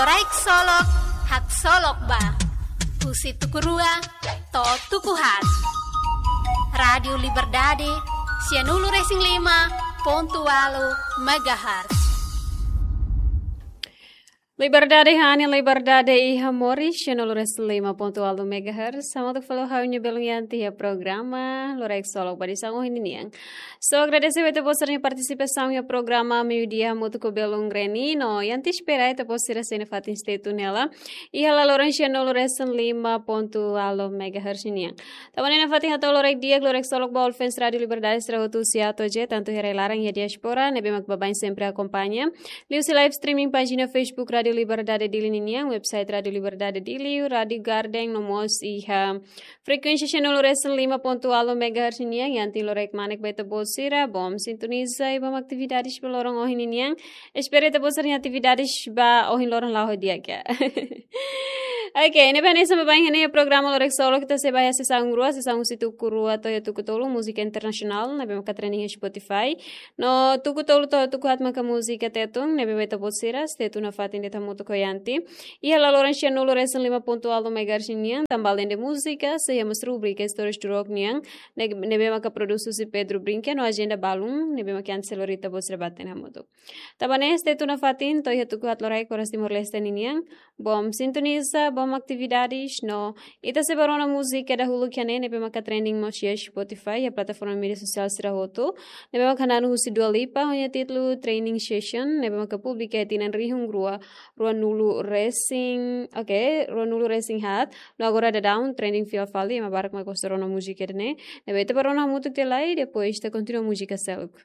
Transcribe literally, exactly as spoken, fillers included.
Loraik Solok, haksolok ba. Husi tuku rua to'o tuku haat. Rádiu Liberdade, sianulu-resin-lima pontu ualu megahertz. Liberdade hanesan liberdade iha moris, sianulu-resin-lima pontu ualu megahertz. Hamutuk fali ho ha'u-nia belun Yanti iha programa Loraik Solok ba edisaun ohin nian. So, agradese ba ita-boot sira-nia partisipasaun iha programa Meiudia hamutuk ho belun Reni, no Yanti espera ita-boot sira sei nafatin stay tune hela iha laloran sianulu-resin-lima pontu ualu megahertz nian. Tanba ne'e nafatin hato'o loraik di'ak, loraik solok ba all fans Rádiu Liberdade sira hotu husi A to'o Z, tantu iha rai-laran iha diáspora, ne'ebé mak baibain sempre akompaña liuhusi live streaming pájina Facebook Rádiu Liberdade Dili ninian, website Rádiu Liberdade Dili, Rádiu Garden, no mós iha frekuénsia sianulu-resin-lima pontu ualu megahertz nian, Yanti loraik kmanek ba ita-boot sira, bom sintoniza i bom atividades ba loron ohin nian. Espera ita-boot sira-nia atividades ba ohin loron la'o di'ak. Oke, ne'ebé hanesan baibain iha programa Loraik Solok, ita sei ba iha sesaun rua, sesaun husi tuku rua to'o iha tuku tolu, múzika internasionál, ne'ebé maka trending iha Spotify. No tuku tolu to'o tuku haat maka múzika Tetun, ne'ebé mak ita-boot sira stay tune nafatin de'it hamutuk ho Yanti iha laloran sianulu-resin-lima pontu ualu megahertz nian, tanba alende múzika, sei iha mós rubrika Istórias do Rock nian, ne-, ne'ebé maka produs husi Pedro Brinca, no ajenda balun, ne'ebé maka Yanti sei lori ita-boot sira ba hatene hamutuk. Tanba ne'e stay tune nafatin to'o iha tuku haat loraik oras Timor-Leste ninian. Bom sintoniza, bom atividades, no ita sei ba rona múzika dahuluk iha ne'e, ne'ebé maka trending mós iha Spotify, iha plataforma média sosiál sira hotu. Ne'ebé maka hananu husi Dua Lipa, ho nia títulu Training Session, ne'ebé maka publika iha tinan rihun rua, ruanulu-resin, oke, ruanulu-resin-haat. No agora daudaun trending fila fali, ema barak maka gosta rona múzika ida-ne'e. Ne'ebé ita ba rona hamutuk tiha lai, depois ita kontinua múzika seluk.